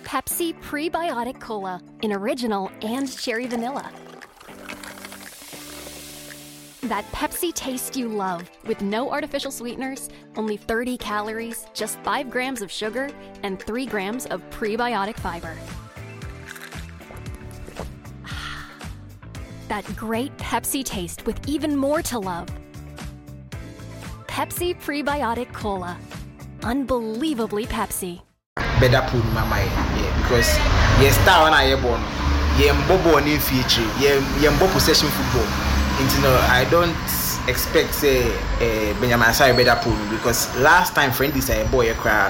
Pepsi Prebiotic Cola in original and cherry vanilla. That Pepsi taste you love with no artificial sweeteners, only 30 calories, just 5 grams of sugar, and 3 grams of prebiotic fiber. That great Pepsi taste with even more to love. Pepsi Prebiotic Cola. Unbelievably Pepsi. Bɛda pool no mu ama yɛn yeah because yɛn style no a yɛbɔ no yɛnbɔ bɔɔl no mfi akyire yɛn yɛnbɔ possession football nti no I don't expect sɛ eh, Benjamin Asare bɛda pool no because last time friendlies a yɛbɔɔ yɛ koraa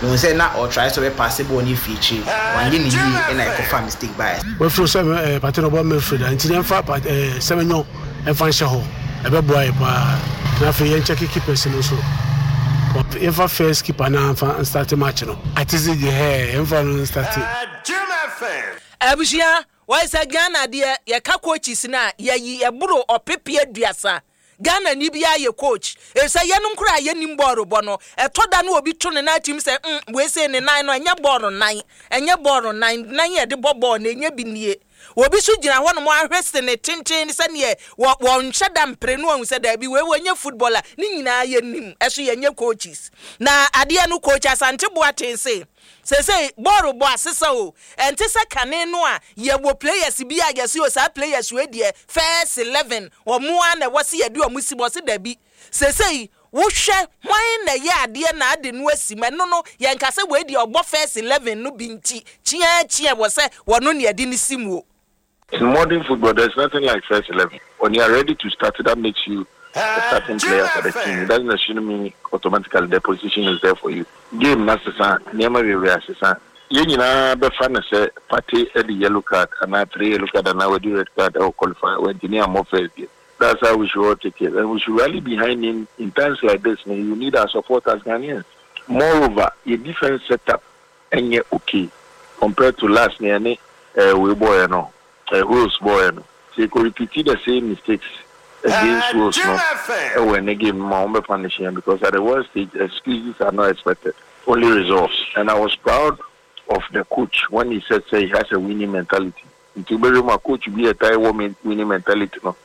no mehu sɛ na ɔtry sɛ ɔbɛpaase bɔɔl no afi akyire wanyɛ ne yie ɛna ɛkɔfa mistake baeɛ. Wafiri sɛ eh, pate no ɔbɔ midfield a nti yɛmfa eh, Semenyo ɛmfa nhyɛ hɔ ɛbɛboa yɛ paa na afei yɛn check keepers no nso yɛmfa first keeper na nfa nstarte match no. Atese deɛ hɛɛ yɛmfa no nstarte. Abusua, wɔyɛ sɛ Ghana deɛ yɛka coaches no a yɛyi ɛboro ɔpepe aduasa. Ghana ni biara yɛ coach. Efisɛ yɛnom koraa a yɛnnim bɔɔlo bɔ no, ɛtɔ da no obi to ne nan atim sɛ mm wei sei ne nan no ɛnyɛ bɔɔlo nan, ɛnyɛ bɔɔlo nan, nan a yɛde bɔ bɔɔlo no ɛnyɛ bi nie. Obi nso gyina hɔnom ahwɛ sene tenten sɛdeɛ wɔ wɔnhyɛ da mpere no ahu sɛ daabi wei wɔnyɛ footballer. Ne nyinaa yɛnim, ɛso yɛnyɛ coaches. Na adeɛ no coach Asante Boateng se seesei bɔɔlo bɔ asesa o, ɛnte sɛ kane no a yɛwɔ players bi a yɛse o saa players wei deɛ first 11 wɔn ara na ɛwɔ se yɛde wɔn si mu, ɔse daabi seesei Wohwɛ hwan na ɛyɛ adeɛ na ade no asi mu, ɛno no yɛnka sɛ wei deɛ ɔbɔ first 11 no bi nti kyeakyea wɔ sɛ wɔno na yɛde no si mu o. In modern football there's nothing like first 11, when you are ready to start that makes you a starting player for the team, it doesn't necessarily mean automatically the position is there for you. Game no asesa, nneɛma bebree asesa, yɛn nyinaa bɛfa no sɛ Partey adi yellow card anaa three yellow card anaa wadi red card wɔ qualifier, wantumi ammɔ first deɛ. That's how we should all take it and we should rally behind him in times like this no you need our support as Ghanaians. Moreover yɛ defence set up nyɛ okay compared to last nea yɛne eh wei bɔɔyɛ no eh Wales bɔɔyɛ no. Sɛ yɛkɔ repeat the same mistakes against Wales no ɛwɔ ɛnɛ game no mu a wɔn bɛ punish yɛn because at the world stage excuses are not expected only results and I was proud of the coach when he said sɛ he has a winning mentality. Nti wobɛhwɛ mu a coach bi a ɛtae wɔ winning mentality no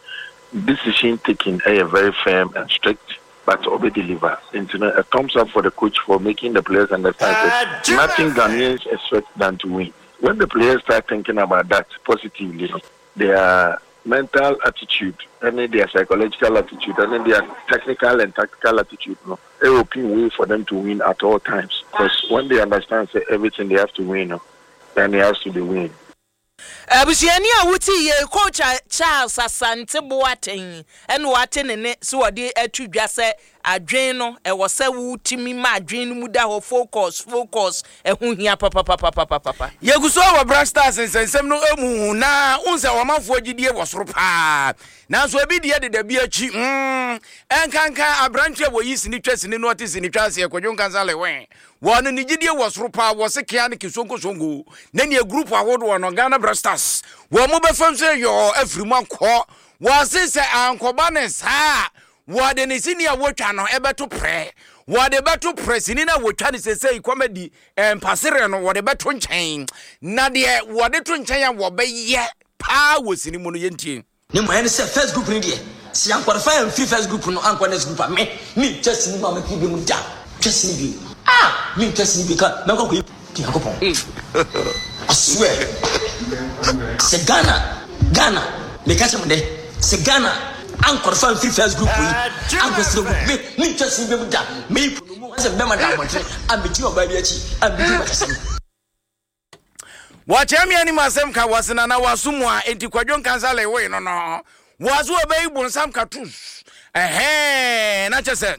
decision taking yɛ very firm and strict but ɔbɛ deliver. Nti no a thumbs up for the coach for making the players understand sɛ nothing Ghanaians expect than to win. When the players start thinking about that positively no their mental attitude ne their psychological attitude ne their technical and tactical attitude no open way for them to win at all times cause when they understand sɛ everything they have to win no then it has to be win. Abusuani a wote yei, Coach Charles Asante Boateng na wate ne nne sɛ ɔde ato dwa sɛ adwene no ɛwɔ sɛ wotumi ma adwene no mu da hɔ, focus, focus, ɛho hia papapapapapapa. Yɛgu so wɔ Black Stars nsɛnsɛm no mu na wohu sɛ ɔmanfoɔ gyidie wɔ soro paa nanso ebi deɛ deda bi akyi mm, ɛnkanka aberanteɛ a wɔyi sini twa sini no ɔte sini twa aseɛ Kwadwo Nkansah Lewin Wɔ no ne gyidie wɔ soro paa wɔ se kea ne kisonko-sonko ne neɛ group ahodoɔ no Ghana Black Stars wɔ mo bɛfam sɛ yɔɔ afiri mu akɔ. Wɔ se sɛ ankɔba ne saa a wɔde ne sini a wɔtwa no ɛbɛto prɛ. Wɔde bɛto prɛ sini no a wɔtwa no sesei comedy mpasereɛ no wɔde bɛto nkyɛn na deɛ wɔde to nkyɛn a wɔbɛyɛ paa wɔ sini mu no yɛntie. Ne mmuaeɛ ne sɛ first group no deɛ sɛ yɛn qualify amfiri first group no ankɔ next group a me mentwa sini mu a mɛpere bio mu da twa sini bio ah mentwa sini bio ka mɛkɔ akɔyi Nyankopɔn I swear sɛ Ghana Ghana meka kyerɛ mo dɛ sɛ Ghana anqualify amfiri first group yi ankɔ second group me mentwa sini bio mu da meyi sɛ bɛma da abɔnten a megyina ɔbaa bi akyi a medi nkwakyasɛm. Wɔkyerɛ me anim asɛm ka wɔse nana waso mu a enti kwadwo nkansa lewoe no no wɔse wɔbɛyi bonsam katus ɛhɛn na kyɛ sɛ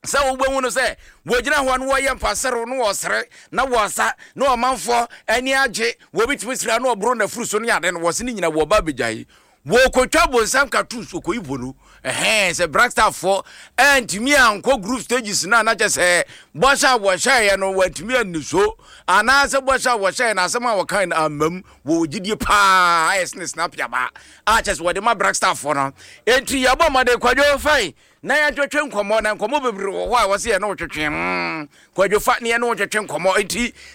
sɛ wobɛhu no sɛ wɔgyina hɔ no wɔyɛ mpaserew no wɔsere na wɔsa na ɔmanfoɔ ani agye wɔbɛtumi sira na ɔboro n'afuru so ne ade no wɔse ne nyina wɔba abɛgyae Wɔkɔtwa bonsam cartoons wɔkɔyi po no ɛhɛn sɛ Blackstar foɔ antumi ankɔ group stages no a na kyɛ sɛ bɔhyɛ a wɔhyɛeɛ no wɔantumi anni so anaasɛ bɔhyɛ a wɔhyɛeɛ no asɛm a wɔkae no ammam wɔwɔ gyidie paa ayɛ sene snapiaba a kyɛ sɛ wɔde ma Blackstar foɔ no enti yɛbɔ mmɔden Kwadwo fine na yɛntwetwe nkɔmmɔ na nkɔmmɔ bebree wɔ hɔ a wɔsɛ yɛne wo twetwe mm Kwadwo fa ne yɛne wo twetwe nkɔmmɔ enti.